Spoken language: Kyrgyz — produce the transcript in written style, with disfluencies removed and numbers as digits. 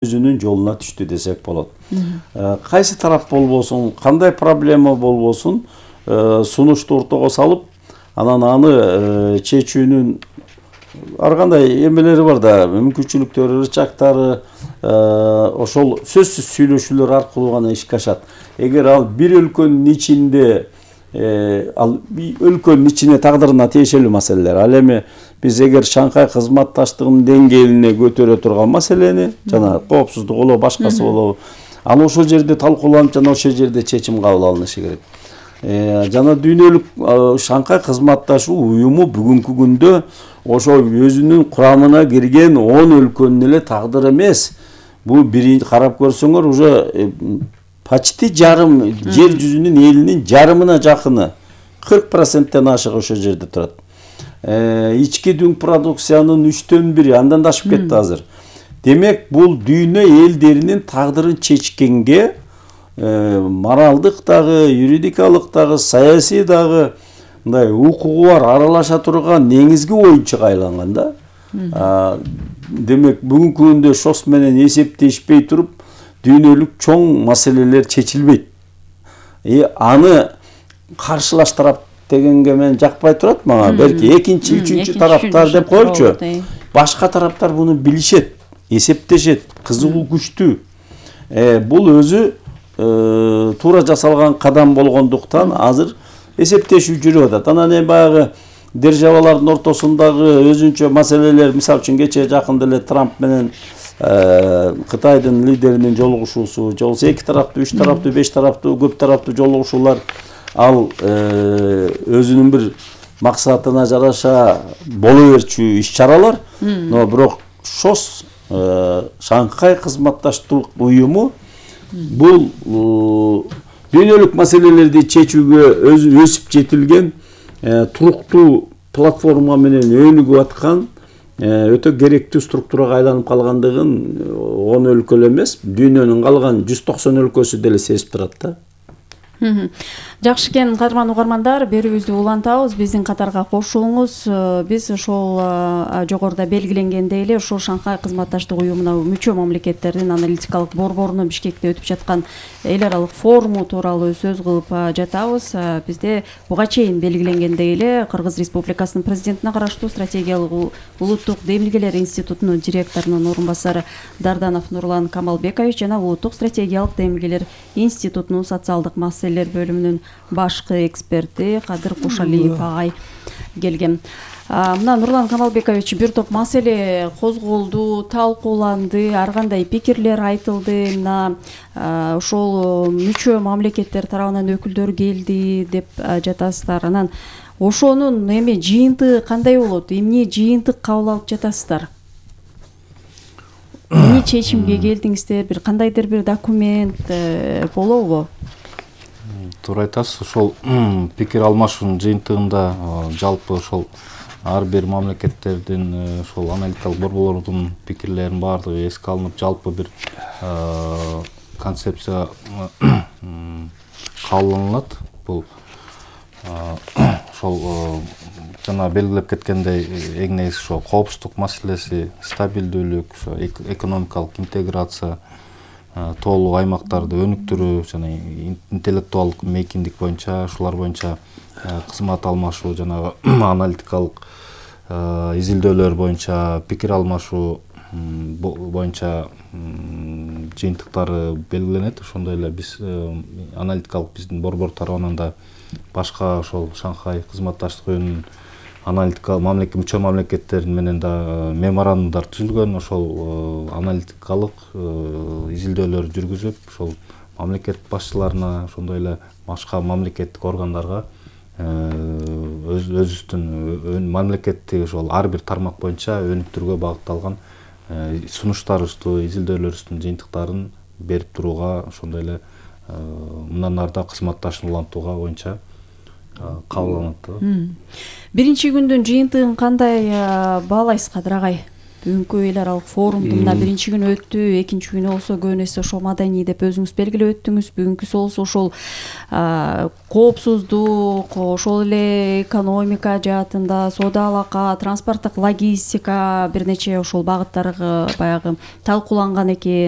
өзүнүн жолуна түштү десек болот. Кайсы тарап болбосун, кандай проблема болбосун, сунушту ортого салып, анан аны чечүүнүн ар кандай эмелери бар да, мүмкүнчүлүктөрү, ырчактары, ошол сөзсүз сүйлөшүүлөр аркылуу гана ишке ашат. Эгер ал бир өлкөнүн ичинде, ал өлкөнүн ичине тагдырына тиешелүү маселелер. Ал эми биз эгер Шанхай кызматташтыгынын деңгээлине көтөрө турган маселени, жана коопсуздук болобу, башкасы болобу, аны ошол жерде талкууланып, жана ошол жерде чечим кабыл алынышы керек. Жана дүйнөлүк Шанхай кызматташуу уюму бүгүнкү күндө ошол өзүнүн курамына кирген 10 өлкөнүн эле тагдыры эмес. Бул биринчи карап көрсөңөр уже почти жарым жер жүзүнүн элинин жарымына жакыны 40%тен ашык ошол жерде турат. Ички дүң продукциянын 1/3, андан да ашып кетти азыр. Демек, бул дүйнө элдеринин тагдырын чечкенге моралдык дагы, юридикалык дагы, саясий дагы мындай укугу бар аралаша турган негизги оюнчуга айланган да. Демек, бүгүнкү күндө ШОС менен эсептешпей туруп, дүйнөлүк чоң маселелер чечилбейт. Аны каршылаш тарап дегенге мен жакпай турат мага. Белки экинчи, үчүнчү тараптар деп коелучу. Башка тараптар буну билишет, эсептешет, кызыгуу күчтүү. Бул өзү туура жасалган кадам болгондуктан азыр эсептешүү жүрүп атат. Анан эми баягы державалардын ортосундагы өзүнчө маселелер, мисалы үчүн кечээ жакында эле Трамп менен Кытайдын лидеринин жолугушуусу, же болбосо 2 тараптуу, 3 тараптуу, 5 тараптуу, көп тараптуу жолугушуулар, ал өзүнүн бир максатына жараша боло берчү иш-чаралар. Но бирок ШОС, Шанхай кызматташтык уюму, бул дүйнөлүк маселелерди чечүүгө өсүп жетилген туруктуу платформа менен өнүгүп аткан өтө керектүү структурага айланып калгандыгын 10 өлкө эле эмес, дүйнөнүн калган 190 өлкөсү деле сезип турат да. Жакшы экен, кадырман угармандар, берүүбүздү улантабыз, биздин катарга кошулуңуз. Биз ошол жогоруда белгиленгендей эле ушул Шанхай кызматташтык уюмуна мүчө мамлекеттердин аналитикалык борборунун Бишкекте өтүп жаткан эл аралык форуму тууралуу сөз кылып жатабыз. Бизде буга чейин белгиленгендей эле Кыргыз Республикасынын президентине караштуу стратегиялык улуттук демилгелер институтунун директорунун орун басары Дарданов Нурлан Камалбекович жана улуттук стратегиялык демилгелер институтунун социалдык маселелер бөлүмүнүн башкы эксперти Кадыр Кушалиев агай келген. Мына Нурлан Камалбекович, бир топ маселе козголду, талкууланды, ар кандай пикирлер айтылды. Мына ошол мүчө мамлекеттер тарабынан өкүлдөр келди деп жатасыздар. Анан ошонун эми жыйынтыгы кандай болот? Эмне жыйынтык кабыл алып жатасыздар? Эмне чечимге келдиңиздер? Бир кандайдыр бир документ болобу? Туура айтасыз, ошол пикир алмашуунун жыйынтыгында жалпы ошол ар бир мамлекеттердин ошол аналитикалык борборлордун пикирлеринин баардыгы эске алынып, жалпы бир концепция кабылданат. Бул ошол жана белгилеп кеткендей эң негизи ошо коопсуздук маселеси, стабилдүүлүк, ошо экономикалык интеграция, тоолук аймактарды өнүктүрүү жана интеллектуалдык мейкиндик боюнча, ушулар боюнча кызмат алмашуу жана аналитикалык изилдөөлөр боюнча пикир алмашуу боюнча жыйынтыктары белгиленет. Ошондой эле биз аналитикалык биздин борбор тарабынан да башка ошол Шанхай кызматташтык уюмунун аналитикалык мүчө мамлекеттер менен да меморандумдар түзүлгөн. Ошол аналитикалык изилдөөлөр жүргүзүп, ошол мамлекет башчыларына, ошондой эле башка мамлекеттик органдарга өзүбүздүн мамлекетти ошол ар бир тармак боюнча өнүктүрүүгө багытталган сунуштарыбызды, изилдөөлөрүбүздүн жыйынтыктарын берип турууга, ошондой эле мындан ары да кызматташууну улантууга боюнча кабылданат. Биринчи күндүн жыйынтыгын кандай баалайсыз, Кадыр агай? бүгүнкү эл аралык форумду мына биринчи күнү өттү, экинчи күнү болсо көбүн эсе ошол маданий деп өзүңүз белгилеп өттүңүз, бүгүнкүсү болсо ошол коопсуздук, ошол эле экономика жаатында, соода алака, транспорттук логистика бир нече ошол багыттар баягы талкууланган экен.